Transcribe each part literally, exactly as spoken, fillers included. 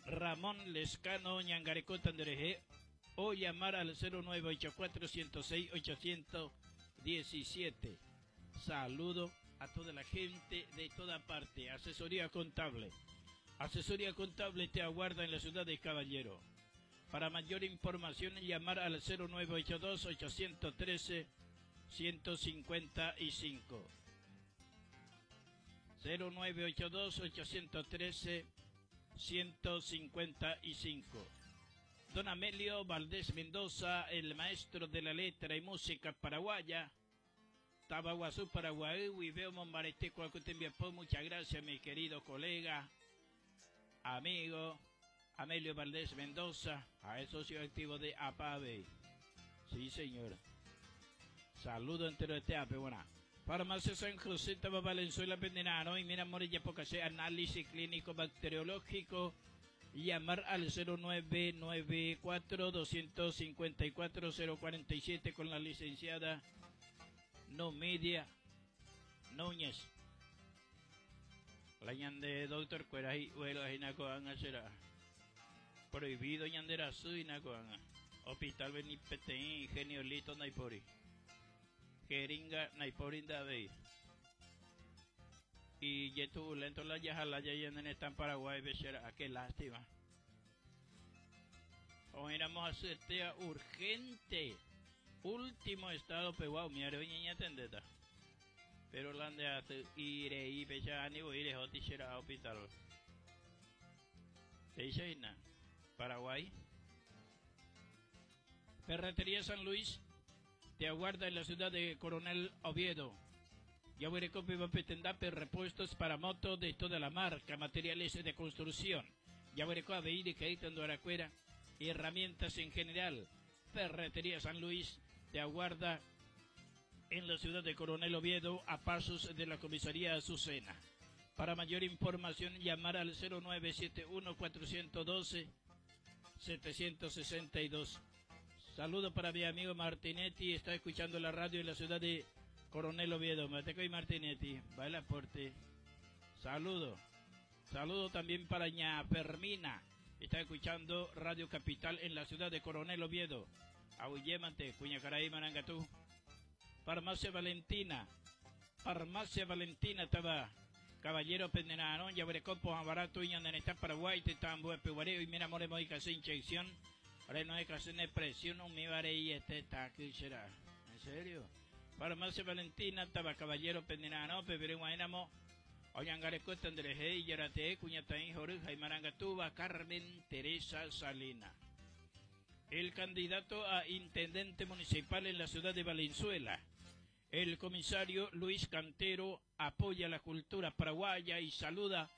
Ramón Lescano oñangareko nderehe o llamar al cero nueve ocho cuatro, ciento seis, ochocientos diecisiete. Saludo a toda la gente de toda parte. Asesoría contable. Asesoría contable te aguarda en la ciudad de Caballero. Para mayor información, llamar al cero nueve ocho dos, ochocientos trece, ciento cincuenta y cinco. cero nueve ocho dos, ochocientos trece, ciento cincuenta y cinco. Don Amelio Valdés Mendoza, el maestro de la letra y música paraguaya. Tabaguazú, Paraguay, Huiveo, Mombarete, Cuacutembiapó. Muchas gracias, mi querido colega, amigo Amelio Valdés Mendoza, a el socio activo de APAVE. Sí, señor. Saludo entero de Teape, buena. Farmacia San José, Taba Valenzuela, Pendenano, y mira, Morilla, Pocasé, análisis clínico bacteriológico. Llamar al cero nueve nueve cuatro, doscientos cincuenta y cuatro, cero cuarenta y siete con la licenciada Numidia Núñez. La ñande doctor Cuera y Uelo Ajinacoanga será prohibido ñandera Suinacoanga. Hospital Benipeteín, Ingenio Lito Naipori. Jeringa Naipori Davey. Y yetu lento la yajalaya y en esta en Paraguay, becerá, qué lástima. Hoy éramos a hacer urgente. Último estado peguao, mi areo ñeña tendeta. Pero la de hace ire y pecha ni voy ire hoti será hospital. Peiseina, Paraguay. Ferretería San Luis te aguarda en la ciudad de Coronel Oviedo. Yahuerecope Bapetendape, repuestos para moto de toda la marca, materiales de construcción. Yahuerecoa de Caítan Aracuera, herramientas en general. Ferretería San Luis te aguarda en la ciudad de Coronel Oviedo, a pasos de la comisaría Azucena. Para mayor información, llamar al cero nueve siete uno, cuatrocientos doce, setecientos sesenta y dos. Saludo para mi amigo Martinetti, está escuchando la radio en la ciudad de Coronel Oviedo. Mateco y Martinetti, va el aporte. Saludo. Saludo también para ña Fermina, está escuchando Radio Capital en la ciudad de Coronel Oviedo. Auyémate, Cuñacaraí, Marangatú. Farmacia Valentina. Farmacia Valentina estaba Caballero Pendenano, Yabrecopo, Barato, Iñandaneta, Paraguay, Tetambo, Epeguareo, y mira, more, moica, sin inyección. Ahora no hay clase de presión, no me varé y este está aquí será. ¿En serio? Farmacia Valentina, estaba Caballero Pendenano, Pepe Guaynamo, Oyangareco, Tandreje, Yarate, Cuñataín, Joruja y Marangatuba, Carmen Teresa Salina. El candidato a intendente municipal en la ciudad de Valenzuela, el comisario Luis Cantero, apoya la cultura paraguaya y saluda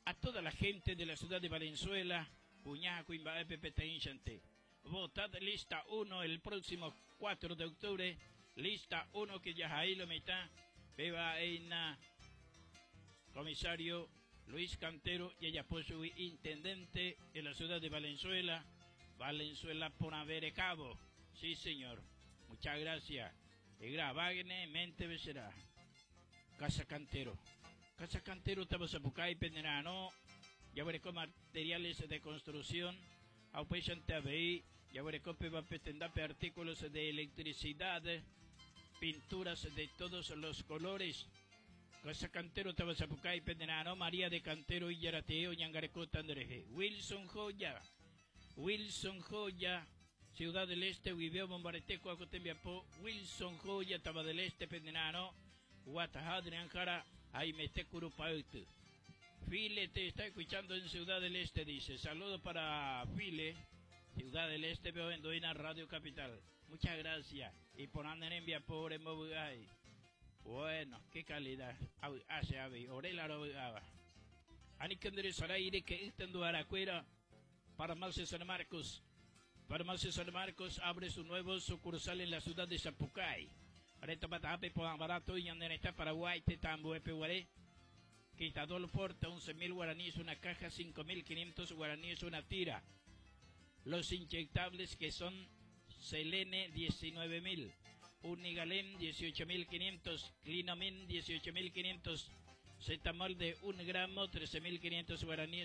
a toda la gente de la ciudad de Valenzuela. Cuñaco, Imba, P P T, Inchante. Votad lista uno el próximo cuatro de octubre. Lista uno que ya ahí lo mitad. Beba Eina, comisario Luis Cantero, y ella puso intendente en la ciudad de Valenzuela. Valenzuela por haber cabo. Sí, señor. Muchas gracias. Y grabagne mente becerá. Casa Cantero. Casa Cantero, Tabasapucay, Penderano. Ya veré con materiales de construcción. Aupesan T A B I. Ya veré con Pepa Petendape, artículos de electricidad, pinturas de todos los colores. Casa Cantero, Tabasapucay, Penderano, María de Cantero, Illarateo, Ñangareco, Tandreje. Wilson Joya. Wilson Joya, Ciudad del Este, Huiveo, Bombareteco, Acotembiapó. Wilson Joya, Taba del Este, Pendenano, Guatajadre, Anjara, Jaime Tecurupautu. File te está escuchando en Ciudad del Este, dice. Saludo para File, Ciudad del Este, veo en Doina Radio Capital. Muchas gracias. Y por andar en vía pobre Mobugay. Bueno, qué calidad. Au, hace ave, orela robaba. Anikandre Saraire que está en Duaracuera. Farmacia San Marcos. Farmacia San Marcos abre su nuevo sucursal en la ciudad de Sapucay. Reto Patape, Poan Barato, y Yandereta, Paraguay, Tetambo, Epeguaré. Quitadol Forte, once mil guaraníes una caja, cinco mil quinientos guaraníes una tira. Los inyectables que son Selene, diecinueve mil, Unigalén, dieciocho mil quinientos, Clinomin, dieciocho mil quinientos, Cetamol de un gramo, trece mil quinientos guaraníes.